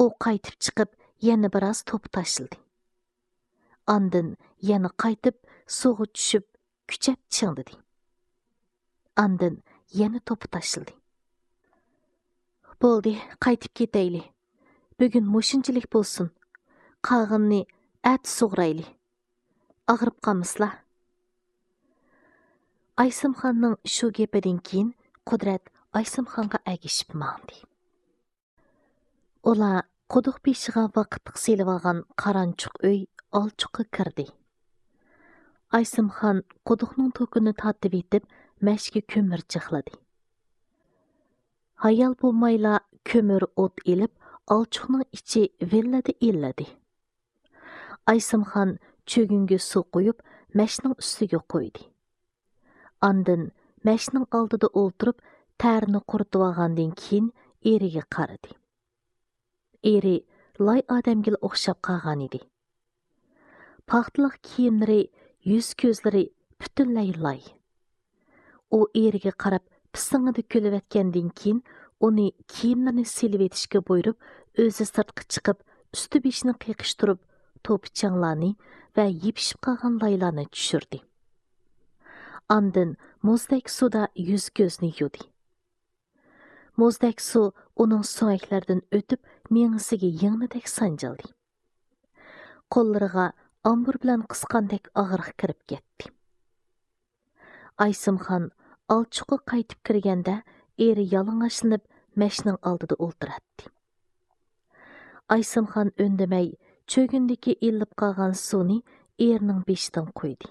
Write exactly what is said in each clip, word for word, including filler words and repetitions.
ئۇ قايتىپ چىقىپ، يەنە بىراز توپا تاشلىدى. ئاندىن يەنە قايتىپ سۇغا چۈشۈپ، كۈچەپ چىڭدىدى. ئاندىن يەنە توپا تاشلىدى. بولدى، قايتىپ كېتەيلى. بۈگۈن مۇشۇنچىلىك بولسۇن. قالغىنىنى ئەتە سۇغىرايلى. ئاغرىپ قالمىسىلا. ئايسىمخاننىڭ شۇ گېپىدىن كېيىن قۇدرەت ئايسىمخانغا ئەگىشىپ ماڭدى. ئۇلار قۇدۇق بېشىغا ۋاقىتلىق سېلىۋالغان قارانچۇق ئۆي ئالچۇققا كىردى. ئايسىمخان قۇدۇقنىڭ توكىنى تارتىۋېتىپ، مەشكە كۆمۈر جىقلىدى. ھايال بولمايلا كۆمۈر ئوت ئېلىپ، ئالچۇقنىڭ ئىچى ۋىللىدە ئىللىدى. ئايسىمخان چۆگۈنگە سۇ قۇيۇپ، مەشنىڭ ئۈستىگە قويدى. ئاندىن مەشنىڭ ئالدىدا ئولتۇرۇپ، تەرىنى قۇرۇتۇۋالغاندىن كېيىن ئېرىگە قارىدى. ئېرى لاي ئادەمگىلا ئوخشاپ قالغانىدى. پاختىلىق كىيىملىرى، يۈز-كۆزلىرى پۈتۈنلەي لاي. ئۇ ئېرىگە قاراپ پىسىڭىدە كۈلۈۋەتكەندىن كېيىن، ئۇنى كىيىملىرىنى سېلىۋېتىشكە بۇيرۇپ، ئۆزى سىرتقا چىقىپ، ئۈستى-بېشىنى قېقىشتۇرۇپ، توپا-چاڭلارنى ۋە يېپىشىپ قالغان لايلارنى چۈشۈردى. ئاندىن مۇزدەك سۇدا يۈز-كۆزىنى يۇدى. مۇزدەك سۇ ئۇنىڭ سۆڭەكلىرىدىن ئۆتۈپ، مېڭىسىگە يىڭنىدەك سانجىلدى. قوللىرىغا ئامبۇر بىلەن قىسقاندەك ئاغرىق كىرىپ كەتتى. ئايسىمخان ئالچۇققا قايتىپ كىرگەندە، ئېرى يالىڭاچلىنىپ مەشنىڭ ئالدىدا ئولتۇراتتى. ئايسىمخان ئۈندىمەي، چۆگۈندىكى ئىللىپ قالغان سۇنى ئېرىنىڭ بېشىدىن قۇيدى.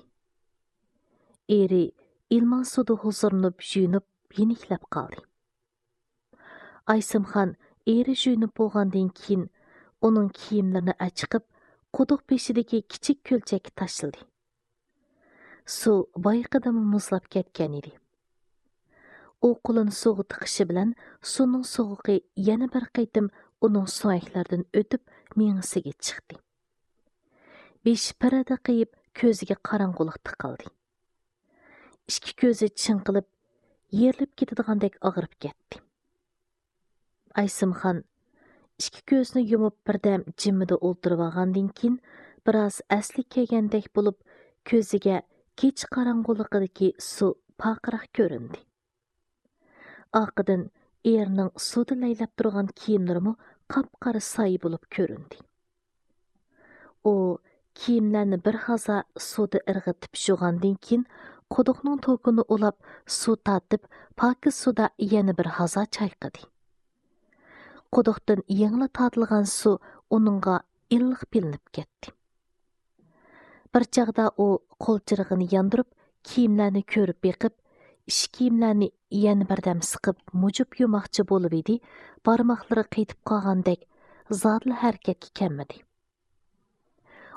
ئېرى ئىلمان سۇدا ھۇزۇرلىنىپ، يۇيۇنۇپ، يېنىكلەپ قالدى. ئايسىمخان ئېرى يۇيۇنۇپ بولغاندىن كېيىن، ئۇنىڭ كىيىملىرىنى ئاچىقىپ، قۇدۇق بېشىدىكى كىچىك كۆلچەككە تاشلىدى. سۇ بايىقىدىنمۇ مۇزلاپ كەتكەن ئىدى. ئۇ قولىنى سۇغا تىقىشى بىلەن، سۇنىڭ سوغۇقى يەنە بىر قېتىم ئۇنىڭ سۆڭەكلىرىدىن ئۆتۈپ، مېڭىسىگە چىقتى. بېشى پىرىدىقىيىپ، كۆزىگە قاراڭغۇلۇق تىقىلدى. ئىككى كۆزى چىڭقىلىپ، يېرىلىپ كېتىدىغاندەك ئاغرىپ كەتتى. ئايسىمخان ئىككى كۆزىنى يۇمۇپ بىردەم جىممىدە ئولتۇرۇۋالغاندىن كېيىن، بىراز ئەسلىگە كەلگەندەك بولۇپ، كۆزىگە كېچە قاراڭغۇلۇقىدىكى سۇ پارقىراق كۆرۈندى. ئارقىدىن ئېرىنىڭ سۇدا لەيلەپ تۇرغان كىيىملىرىمۇ قاپقارا سايە بولۇپ كۆرۈندى. ئۇ كىيىملەرنى بىر ھازا سۇدا ئىرغىتىپ يۇغاندىن كېيىن، قۇدۇقنىڭ توكىنى ئۇلاپ، سۇ تارتىپ، پاكىز سۇدا يەنە بىر ھازا چايقىدى. قۇدۇقتىن يېڭىلا تارتىلغان سۇ ئۇنىڭغا ئىللىق بىلىنىپ كەتتى. بىر چاغدا ئۇ قول چىرىغىنى ياندۇرۇپ، كىيىملەرنى كۆرۈپ بېقىپ، ئىش كىيىملەرنى يەنە بىردەم سىقىپ، مۇجۇپ يۇماقچى بولۇۋىدى، بارماقلىرى قېتىپ قالغاندەك، زادىلا ھەرىكەتكە كەلمىدى.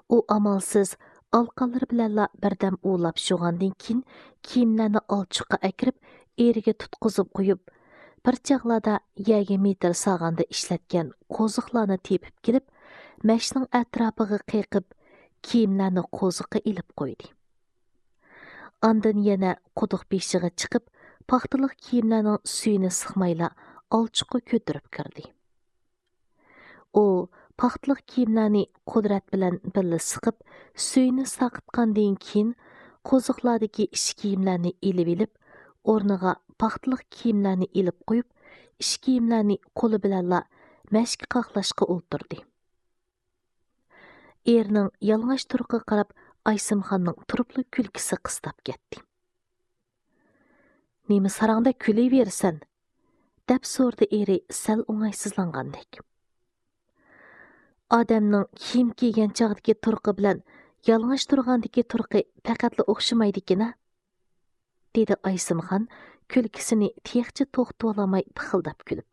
ئۇ ئامالسىز ئالىقانلىرى بىلەنلا بىردەم ئۇۋىلاپ يۇغاندىن كېيىن، كىيىملەرنى ئالچۇققا ئەكىرىپ، ئېرىگە تۇتقۇزۇپ قويۇپ، بىر چاغلاردا يەرگە مېتىر سالغاندا ئىشلەتكەن قوزۇقلارنى تېپىپ كېلىپ، مەشنىڭ ئەتراپىغا قېقىپ، كىيىملەرنى قوزۇققا ئېلىپ قويدى. ئاندىن يەنە قۇدۇق بېشىغا چىقىپ، پاختىلىق كىيىملەرنىڭ سۈيىنى سىقمايلا ئالچۇققا كۆتۈرۈپ كىردى. ئۇ پاختىلىق كىيىملەرنى قۇدرەت بىلەن بىللە سىقىپ، سۈيىنى سارقىتقاندىن كېيىن، قوزۇقلاردىكى ئىش كىيىملەرنى ئېلىۋېلىپ، ئورنىغا پاختىلىق كىيىملەرنى ئېلىپ قويۇپ، ئىش كىيىملەرنى قولى بىلەنلا مەشكە قاقلاشقا ئولتۇردى. ئېرىنىڭ يالىڭاچ تۇرقىغا قاراپ، ئايسىمخاننىڭ تۇرۇپلا كۈلكىسى قىستاپ كەتتى. «نېمە ساراڭدەك كۈلۈۋېرىسەن؟» دەپ سورىدى ئېرى سەل ئوڭايسىزلانغاندەك. «ئادەمنىڭ كىيىم كىيگەن چاغدىكى تۇرقى بىلەن يالىڭاچ تۇرغاندىكى تۇرقى پەقەتلا ئوخشىمايدىكىن-ە؟» دېدى ئايسىمخان كۈلكىسىنى تېخىچە توختىتىۋالالماي پىخىلداپ كۈلۈپ.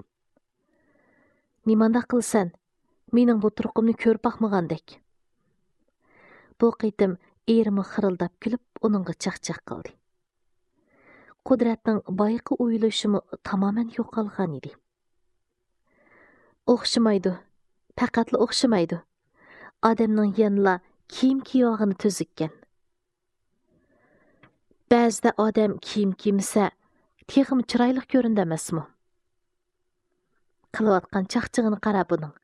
«نېمانداق قىلىسەن؟ مېنىڭ بۇ تۇرقۇمنى كۆرۈپ باقمىغاندەك.» بۇ قېتىم ئېرىمۇ خىرىلداپ كۈلۈپ، ئۇنىڭغا چاقچاق قىلدى. قۇدرەتنىڭ بايىقى ئويلىشىمۇ تامامەن يوقالغانىدى. «ئوخشىمايدۇ، پەقەتلا ئوخشىمايدۇ. ئادەمنىڭ يەنىلا كىيىم كىيىۋالغىنى تۈزۈككەن. بەزىدە ئادەم كىيىم كىيمىسە، تېخىمۇ چىرايلىق كۆرۈنىدۇ ئەمەسمۇ؟ قىلىۋاتقان چاقچىقىنى قارا بۇنىڭ.